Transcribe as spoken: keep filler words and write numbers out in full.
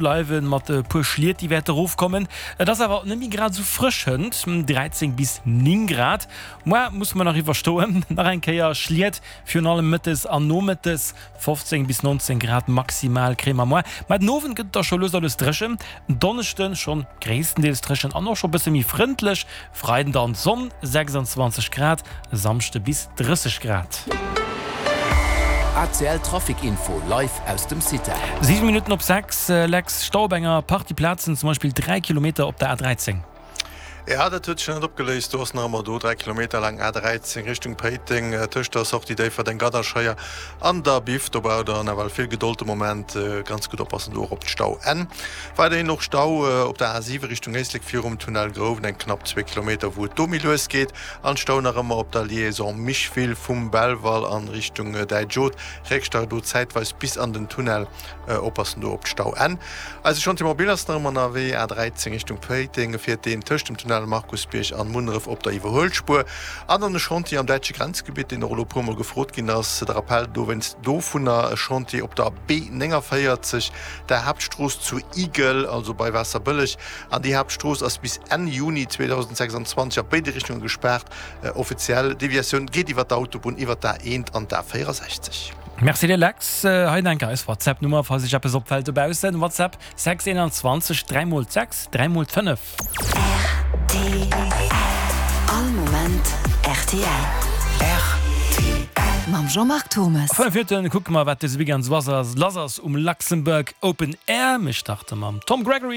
Bleiwen mat e puer Schliet, déi wäerte rofkommen. Et ass awer net méi grad esou frësch hënt, dräizéng bis néng Grad. Moar musse mer nach iwwerstoen, nach eng Kéier Schliet, virun allem mëttes an nomëttes, fofzéng bis nonzéng Grad maximal kréie mer moar. Mä den Owend gëtt et da scho lues a lues dréchen, en Donneschde schonn gréisstendeels dréchen an och scho bësse méi frëndlech, Freiden dann Sonn, sechsandzwanzeg Grad, e Samschde bis drësseg Grad. A C L Trafic Info live aus dem CITEL. Siwen Minutten op sechs, Lex, Stau op enger Partie Plazen, zum Beispill dräi Kilometer op der A dräizéng. Ja, dat huet sech nach net opgeléist. Do ass nach ëmmer do dräi Kilometer laang A dräizéng Richtung Péiteng tëscht der Sortie Déifferdeng Gadderscheier an der Biff. Do braucht der nawell vill Gedold de Moment. Ganz gutt oppassen do och op d'Stauenn. Weiderhin och Stau op der A siwe Richtung Éislek virum Tunnel Grouwen, eng knapp zwee Kilometer wou et do méi lues geet. An Stau nach ëmmer op der Liaison Micheville vum Belval an Richtung Däitsch-Oth. Réckstau do zäitweis bis an den Tunnel. Oppassen do op d'Stauenn. Eise Chantier mobile ass nach ëmmer ënnerwee, A dräizéng Richtung Péiteng fiert deen tëscht dem Tunnel Markusbierg an Munneref op der Iwwerhuelspuer. An dann e Chantier am däitsche Grenzgebitt, deen och elo e puer mol gefrot ginn ass. De Rappell dowéinst dovunner, e Chantier op der B nénganvéierzeg, der Haaptstrooss zu Igel, also bei Waasserbëlleg. An déi Haaptstrooss ass bis Enn Juni zweedausendsechsandzwanzeg a béide Richtunge gespaart. Offiziell Deviatioun geet iwwer d'Autobunn, iwwer d'A eent an d'A véierasechzeg. Merci dir Lex. Hei enker eis WhatsApp Nummer falls iech eppes opfällt dobaussen, WhatsApp sechs einundzwanzeg dräi mol sechs dräi mol fënnef. R T L. All Moment R T L. R T L. Mam Jean-Marc Thommes. A fënnef Minutten kucke mer wat dëse Weekend sou lass ass um Luxembourg Open Air. Mir starte mam Tom Gregory.